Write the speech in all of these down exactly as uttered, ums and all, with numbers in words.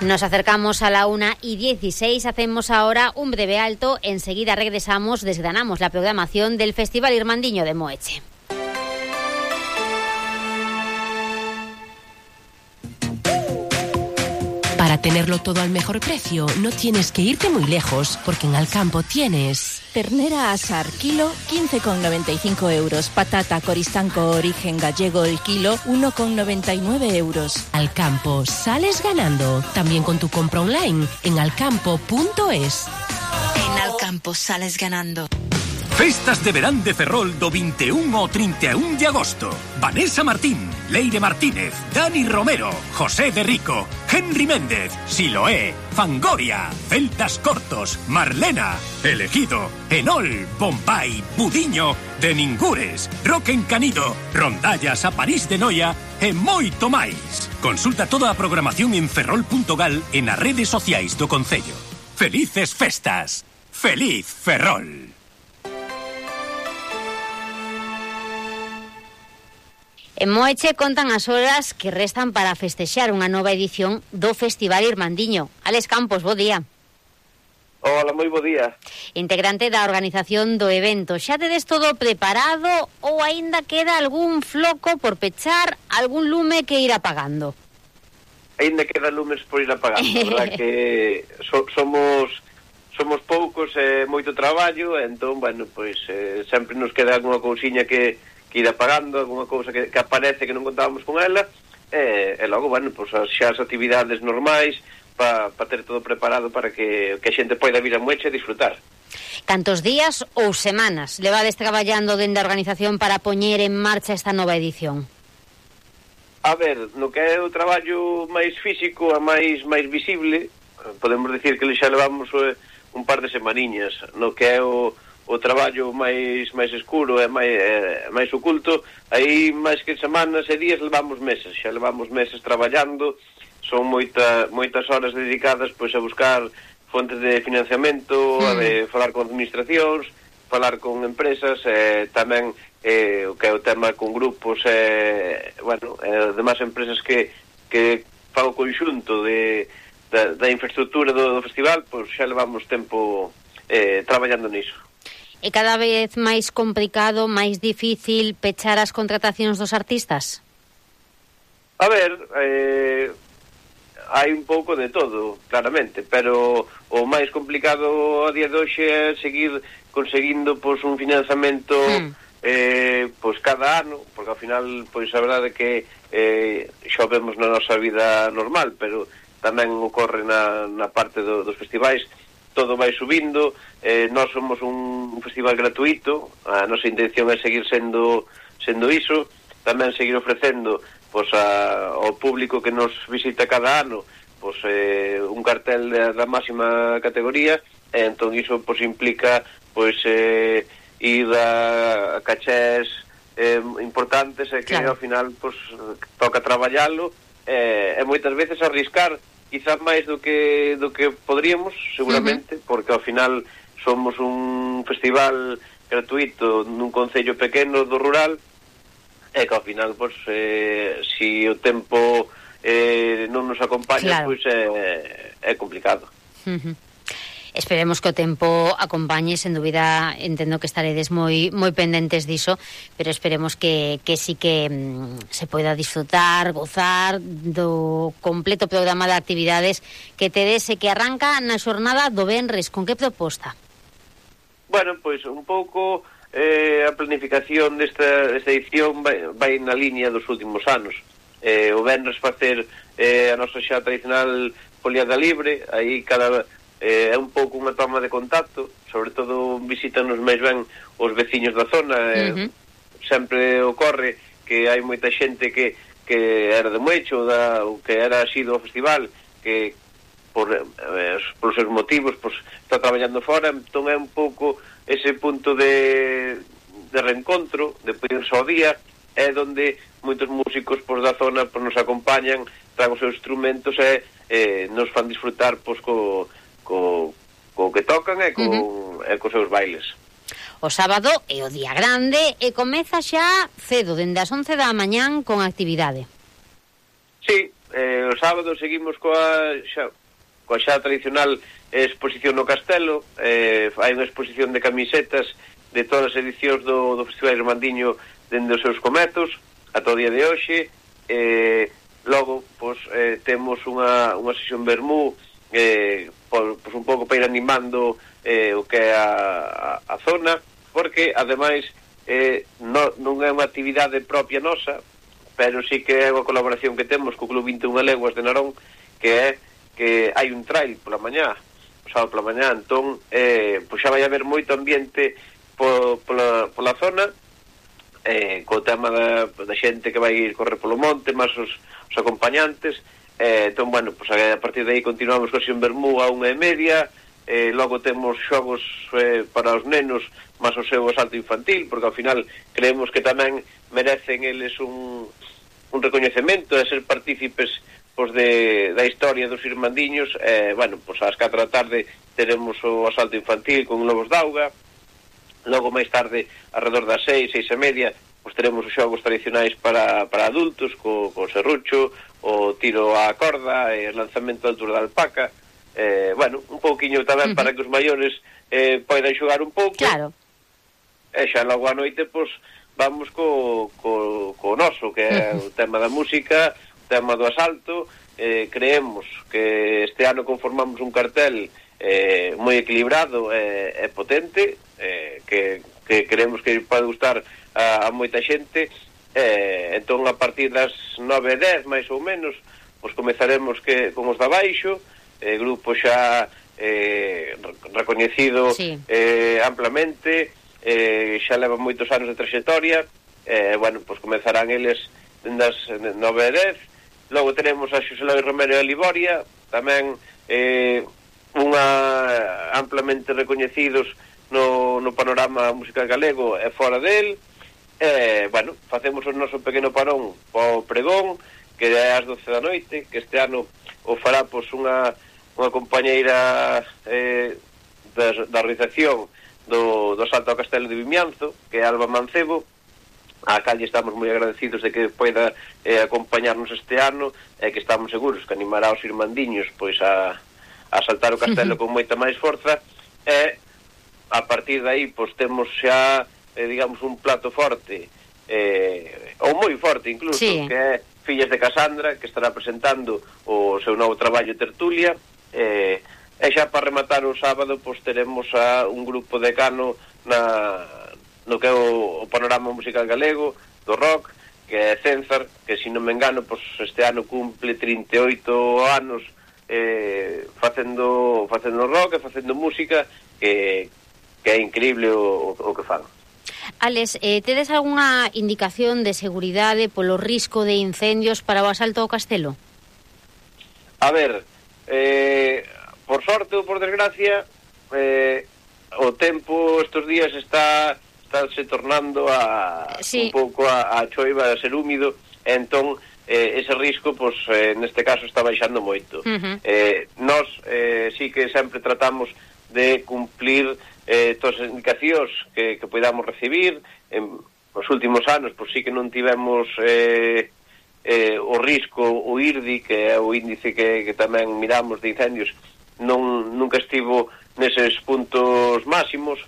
Nos acercamos a la una y dieciséis, hacemos ahora un breve alto, enseguida regresamos, desgranamos la programación del Festival Irmandiño de Moeche. Para tenerlo todo al mejor precio, no tienes que irte muy lejos, porque en Alcampo tienes... Ternera asar, kilo, quince con noventa y cinco euros. Patata Coristanco origen gallego, el kilo, uno con noventa y nueve euros. Alcampo, sales ganando. También con tu compra online en alcampo punto es. En Alcampo sales ganando. Festas de verán de Ferrol do vinte e un ao trinta e un de agosto. Vanessa Martín, Leire Martínez, Dani Romero, José de Rico, Henry Méndez, Siloé, Fangoria, Celtas Cortos, Marlena, Elegido, Enol, Bombay, Budiño, De Ningures, Roque Encanido, Rondallas a París de Noia e moito máis. Consulta toda a programación en ferrol punto gal e nas redes sociais do Concello. Felices festas. Feliz Ferrol. En Moeche contan as horas que restan para festexar unha nova edición do Festival Irmandiño. Alex Campos, bo día. Hola, moi bo día. Integrante da organización do evento. Xa tedes todo preparado ou aínda queda algún floco por pechar, algún lume que ir apagando? Aínda queda lumes por ir apagando, verdad que so, somos somos poucos e eh, moito traballo, entón, bueno, pois eh, sempre nos queda algunha cousiña que que ir apagando, alguna cousa que, que aparece que non contábamos con ela, e, e logo, bueno, pues, xa as actividades normais para pa ter todo preparado para que, que a xente poida vir a Moeche e disfrutar. Cantos días ou semanas levades traballando dende a organización para poñer en marcha esta nova edición? A ver, no que é o traballo máis físico e máis máis visible, podemos dicir que xa levamos eh, un par de semaniñas. No que é o o traballo máis máis escuro e máis, é, máis oculto, aí máis que semanas e días levamos meses, xa levamos meses traballando, son moita, moitas horas dedicadas pois a buscar fontes de financiamento, mm. a de falar con administracións, falar con empresas, e tamén eh, o que é o tema con grupos e, bueno, e demais empresas que, que fan o conxunto de, da, da infraestructura do, do festival, pois xa levamos tempo eh, traballando niso. É cada vez máis complicado, máis difícil pechar as contratacións dos artistas? A ver, eh, hai un pouco de todo, claramente, pero o máis complicado a día de hoxe é seguir conseguindo pois, un financiamento mm. eh, pois, cada ano, porque ao final pois, a verdade é que eh, xa o vemos na nosa vida normal, pero tamén ocorre na, na parte do, dos festivais, todo vai subindo, eh, nós somos un, un festival gratuito, a nosa intención é seguir sendo sendo iso, tamén seguir ofrecendo pois, a, ao público que nos visita cada ano pois, eh, un cartel da, da máxima categoría, e entón iso pois, implica pois, eh, ir a, a cachés eh, importantes e que claro. Ao final pois, toca traballalo e, e moitas veces arriscar quizás máis do que do que podríamos, seguramente, uh-huh. porque ao final somos un festival gratuito nun concello pequeno do rural e que ao final, pois, eh, si o tempo eh, non nos acompaña, claro. pois é, é complicado. Uh-huh. Esperemos que o tempo acompañe, sen dúbida, entendo que estaredes moi moi pendentes diso, pero esperemos que, que sí que mm, se poida disfrutar, gozar do completo programa de actividades que tedes e que arranca na xornada do venres. Con que proposta? Bueno, pois un pouco eh, a planificación desta, desta edición vai, vai na línea dos últimos anos. Eh, o venres facer eh, a nosa xa tradicional foliada libre, aí cada... Eh, é un pouco unha toma de contacto, sobre todo visítanos máis ben os veciños da zona, eh, uh-huh. sempre ocorre que hai moita xente que, que era de Moeche ou, da, ou que era asido ao festival, que por, eh, por seus motivos pues, está traballando fora, entón é un pouco ese punto de, de reencontro, de poderse ao día, é donde moitos músicos pues, da zona pues, nos acompañan, traen os seus instrumentos e eh, nos fan disfrutar pues, co Co, co que tocan e co, uh-huh. e cos seus bailes. O sábado é o día grande e comeza xa cedo, dende as once da mañán con actividade. Sí, eh, o sábado seguimos coa xa, coa xa tradicional exposición no Castelo. eh, hai unha exposición de camisetas de todas as edicións do, do Festival Irmandiño dende os seus cometos ata o día de hoxe. eh, logo, pois, eh, temos unha, unha sesión vermú eh, por, pois un pouco para ir animando eh, o que é a, a, a zona, porque ademais eh, no, non é unha actividade propia nosa, pero sí que é unha colaboración que temos co Club vinte e unha Leguas de Narón, que é que hai un trail pola mañá, o sábado pola mañá, entón eh, pois xa vai haber moito ambiente po, pola, pola zona, eh, co tema da, da xente que vai ir correr polo monte, máis os, os acompañantes. eh, entón, bueno, pois a partir de aí continuamos con Xen Bermú a unha e media. Eh, logo temos xogos eh, para os nenos máis o seu asalto infantil, porque ao final creemos que tamén merecen eles un, un recoñecemento de ser partícipes pois, de, da historia dos irmandiños. Eh, bueno, pois ás catro da tarde teremos o asalto infantil con Lobos d'Auga. Logo máis tarde, alrededor das seis, seis e media, pois teremos os xogos tradicionais para, para adultos, co, co serrucho, o tiro á corda, e o lanzamento de altura da alpaca. Eh, bueno, un pouquiño tamén uh-huh. para que os maiores eh, poidan xogar un pouco. Claro. E xa logo a noite, pois, vamos co, co, co noso, que é uh-huh. o tema da música, o tema do asalto. Eh, creemos que este ano conformamos un cartel eh, moi equilibrado e eh, potente, eh, que, que creemos que pode gustar a, a moita xente. Eh, entón, a partir das nove e dez, máis ou menos, pois comezaremos que, con os da baixo, eh, grupo xa eh, recoñecido sí. eh, amplamente, eh, xa leva moitos anos de traxectoria. Eh, bueno, pois comezarán eles das nove e dez. Logo tenemos a Xosé Loi Romero e a Liboria, tamén eh, unha amplamente recoñecidos no, no panorama musical galego e fora del. Eh, bueno, facemos o noso pequeno parón po pregón, que é ás doce da noite, que este ano o fará pois unha unha compañeira eh, da, da organización do, do Salto ao Castelo de Vimianzo, que é Alba Mancebo, a cal estamos moi agradecidos de que poida eh, acompañarnos este ano, e que estamos seguros que animará os irmandiños pois a, a saltar o castelo con moita máis forza. E a partir de aí pois temos xa eh, digamos un plato forte, eh, ou moi forte incluso, sí. que é Fillas de Casandra, que estará presentando o seu novo traballo Tertulia. Eh, e xa para rematar o sábado pois teremos a un grupo decano na, no que é o, o panorama musical galego do rock, que é Cenzar, que se non me engano pois este ano cumple trinta e oito anos eh, facendo facendo rock e facendo música, que, que é increíble o, o, o que fan. Alex, eh, tedes algunha indicación de seguridade polo risco de incendios para o asalto ao castelo? A ver, eh, por sorte ou por desgracia, eh, o tempo estes días está estáse tornando a sí. un pouco a, a choiva, a ser húmido, e entón eh, ese risco, pois, eh, neste caso está baixando moito. Uh-huh. Eh, nós eh, sí que sempre tratamos de cumplir eh, todas as indicacións que, que podamos recibir. En os últimos anos, pois sí que non tivemos eh, eh, o risco, o I R D I, que é o índice que, que tamén miramos de incendios, non nunca estivo neses puntos máximos.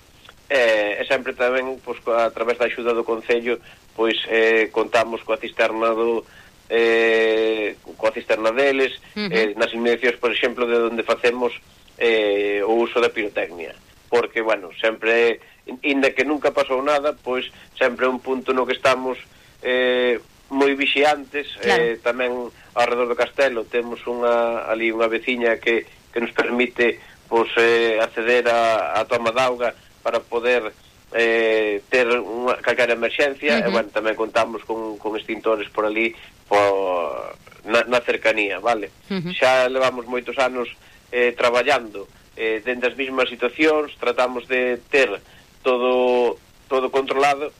Eh, e sempre tamén, pois, a través da axuda do Concello, pois eh, contamos coa cisterna do eh, coa cisterna deles, uh-huh. eh, nas inmediacións, por exemplo, de onde facemos eh, o uso da pirotecnia, porque, bueno, sempre, inda que nunca pasou nada, pois sempre é un punto no que estamos eh, moi vixiantes. Claro. Eh, tamén ao redor do castelo temos unha ali unha veciña que, que nos permite pois, eh, acceder a, a toma d'auga para poder eh, ter unha calquera emerxencia. Uh-huh. E, bueno, tamén contamos con, con extintores por ali por, na, na cercanía, vale? Uh-huh. Xa levamos moitos anos eh, traballando eh, dentro das mesmas situacións, tratamos de ter todo todo controlado.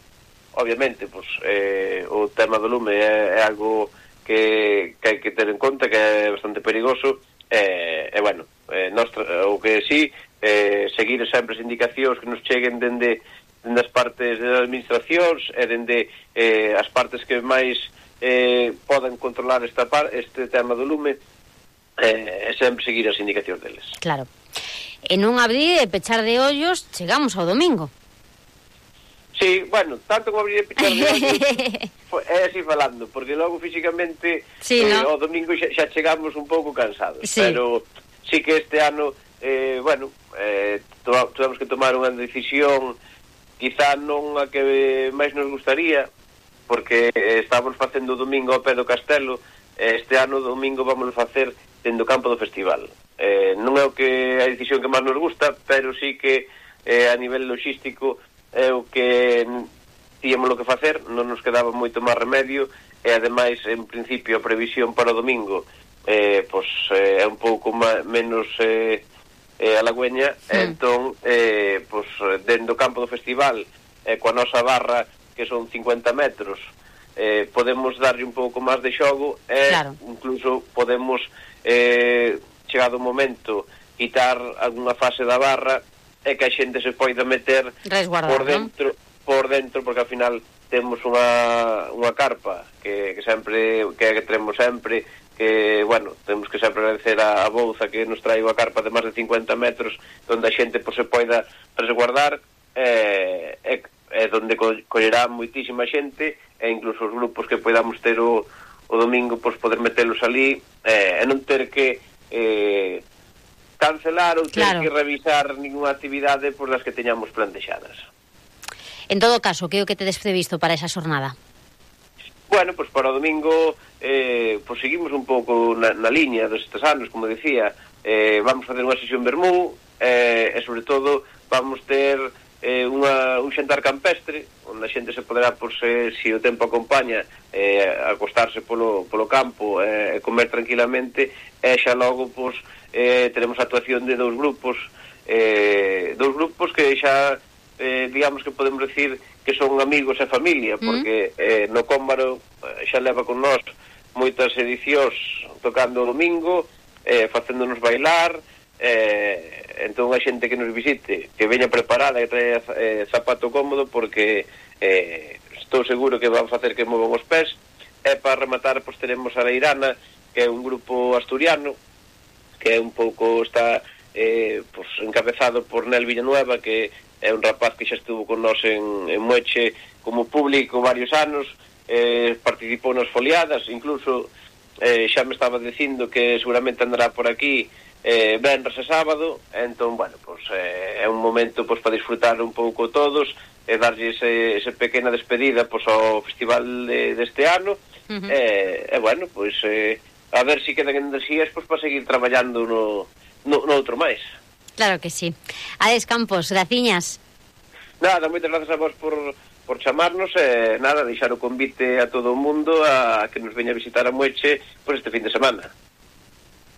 Obviamente, pues, eh, o tema do lume é, é algo que, que hai que ter en conta, que é bastante perigoso. E, eh, eh, bueno, eh, nos, o que sí, eh, seguir sempre as indicacións que nos cheguen dende, dende as partes das administracións e dende eh, as partes que máis eh, poden controlar esta par, este tema do lume e eh, sempre seguir as indicacións deles. Claro. E non abrir e pechar de ollos, chegamos ao domingo. Sí, bueno, tanto como abrir e pechar de ollos é así falando, porque logo físicamente sí, eh, ¿no? ao domingo xa, xa chegamos un pouco cansados, sí. Pero sí que este ano eh, bueno, eh, tivemos que tomar unha decisión quizá non a que máis nos gustaría, porque eh, estábamos facendo o domingo ao pé do castelo, eh, este ano o domingo vamos facer dentro do campo do festival. Eh, non é o que a decisión que máis nos gusta, pero sí que eh, a nivel logístico é o que tíamos lo que facer, non nos quedaba moito máis remedio, e ademais en principio a previsión para o domingo eh, pois, eh, é un pouco má, menos eh, eh, halagüeña, mm. entón eh, pois, dentro do campo do festival eh, coa nosa barra que son cincuenta metros eh, podemos darlle un pouco máis de xogo e claro. Incluso podemos eh, chegado o momento quitar algunha fase da barra e que a xente se poida meter por dentro, ¿no? por dentro, porque ao final temos unha, unha carpa que, que sempre que, que tenemos sempre, que, bueno, temos que sempre agradecer a, a Bouza que nos trae unha carpa de máis de cincuenta metros onde a xente pues, se poida resguardar e, e, e onde co, collerá moitísima xente e incluso os grupos que podamos ter o, o domingo pues, poder metelos ali e, e non ter que eh, cancelar ou ter claro. Que revisar ninguna actividade por las que teñamos plantexadas. En todo caso, que é o que tedes previsto para esa xornada? Bueno, pois pues para o domingo eh, pues seguimos un pouco na, na liña destes anos, como decía, eh, vamos facer unha sesión vermú eh, e sobre todo vamos ter eh, unha, un xantar campestre onde a xente se poderá, pues, eh, se o tempo acompaña, eh, acostarse polo, polo campo e eh, comer tranquilamente e xa logo pues, eh, teremos a actuación de dous grupos eh, dous grupos que xa Eh, digamos que podemos decir que son amigos e familia, porque mm. eh, no Cómbaro eh, xa leva con nós moitas edicións tocando o domingo, eh, facéndonos bailar, eh, entón a xente que nos visite que veña preparada e trae eh, zapato cómodo, porque eh, estou seguro que van facer que movan os pés. E para rematar, pois teremos a Leirana, que é un grupo asturiano que é un pouco está eh, pois, encabezado por Nel Villanueva, que é un rapaz que xa estuvo con nós en, en Moeche como público varios anos, eh, participou nas foliadas, incluso eh, xa me estaba dicindo que seguramente andará por aquí eh, venres e sábado, entón, bueno, pues, eh, é un momento pues, para disfrutar un pouco todos e darlle ese, ese pequena despedida pues, ao festival de, deste ano, uh-huh. e, e bueno, pues, eh, a ver se si quedan enerxías pues, para seguir traballando no, no, no outro máis. Claro que sí. Ades Campos, graciñas. Nada, moitas grazas a vos por, por chamarnos e nada, deixar o convite a todo o mundo a que nos veña a visitar a Moeche por este fin de semana.